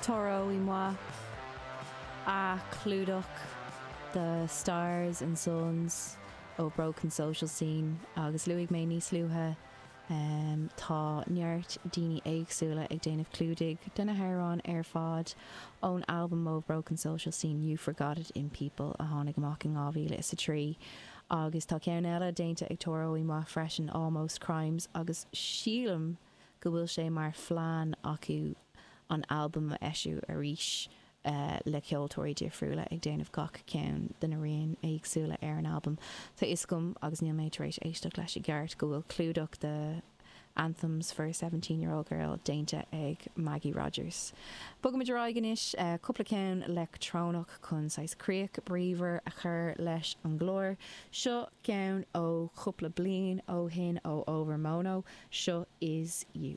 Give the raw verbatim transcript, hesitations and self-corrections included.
Toro y Moi a chlúdach The Stars and Suns ó Broken Social Scene agus luaigh mé níos luaithe um, tá neart daoine éagsúla ag déanamh clúdaigh de na hamhráin ar fad ón albam ó Broken Social Scene You Forgot It in People a tháinig amach in dhá mhíle is a trí. Agus tá ceann eile déanta ag Toro y Moi freisin Almost Crimes agus sílim go bhfuil sé mar phlean acu an albam a eisiú arís uh, le ceoltóirí difriúla ag déanamh gach ceann de na rian éagsúla ar an albam. Tá is gom agus níl mé tar éis éisteacht leis i gceart go bhfuil clúdach de Anthems for a seventeen year old Girl déanta ag Maggie Rogers. Bogaimid ar aghaidh anois uh, cúpla ceann leictreonach chun saghas críoch bríomhar a chur leis an gclár. Seo ceann ó chúpla bliain ó shin ó Overmono, seo Is You.